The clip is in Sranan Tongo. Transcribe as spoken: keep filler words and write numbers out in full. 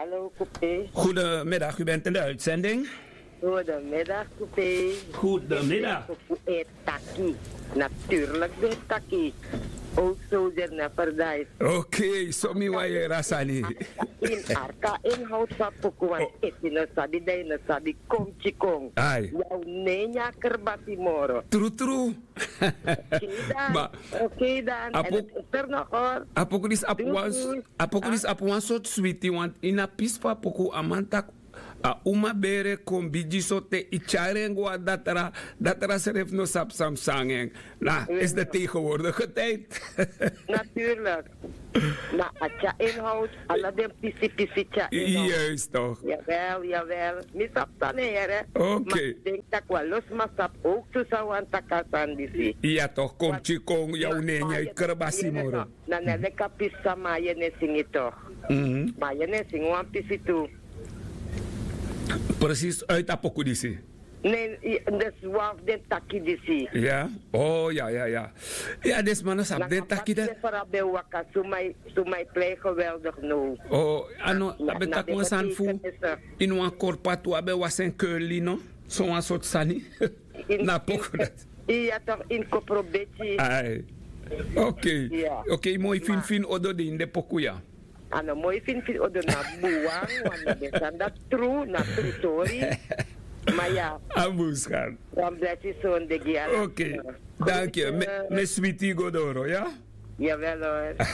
Hallo, kupe. Goedemiddag, u bent in de uitzending. Goedemiddag, kupe. Goedemiddag. Kupe e taki. Natuurlijk ben taki. Ook zo de never die. Oké, so mi wan yere a sani. In arka in hout van poku wan eti no sabi dai no sabi kom chikong. Ai. Yau nenya kerbasi moro. True, true. Oké dan. Oké dan. En het is er nog hoor. A poku disi abi wan s- a poku disi abi wan sortu switi want ini a pisi fu a poku a man taki a uma bere kon bigi so te i tyari en go na datra. Datra srefi no sabi san mus nanga en. Na is de tegenwoordige tijd. Natuurlijk. Na a tya inhoud ala den pisi pisi tya inhoud. Juist toch. Jawel, jawel. Mi sabi san na here. Oké. Ma mi denki tak' wan lo sma sabi owktu san wan taki a sani disi. Ya tok' kon pikin kon ya un na en ya yu krabasi moro. Na na leki a pisi san ma a yu en e singi tok'. Ma a yu en e singi wan pisi tu. Presis uiti a poku disi. Ne, dus wan fu den taki disi. Ya. O ya ya ya. Ya den sma no sabi den taki dati. Fara ben waka suma e plei geweldig now. O a no a ben taki wan sani fu ini wan korpa tu a ben wasi en keurli no. Sowan sortu sani. Na poku dati. Iya tok' ini kopro beti. Ai. Okei. Okei moi finfin odo de ini den poku ya. A no moi finfin odo na buwan wan na den sani dati tru na tru tori. Ma ya. A bun skan. Wan blesi sonde gi ala. Okei. Danki yu. Mi e switi yu go doro ya. Yawel hori.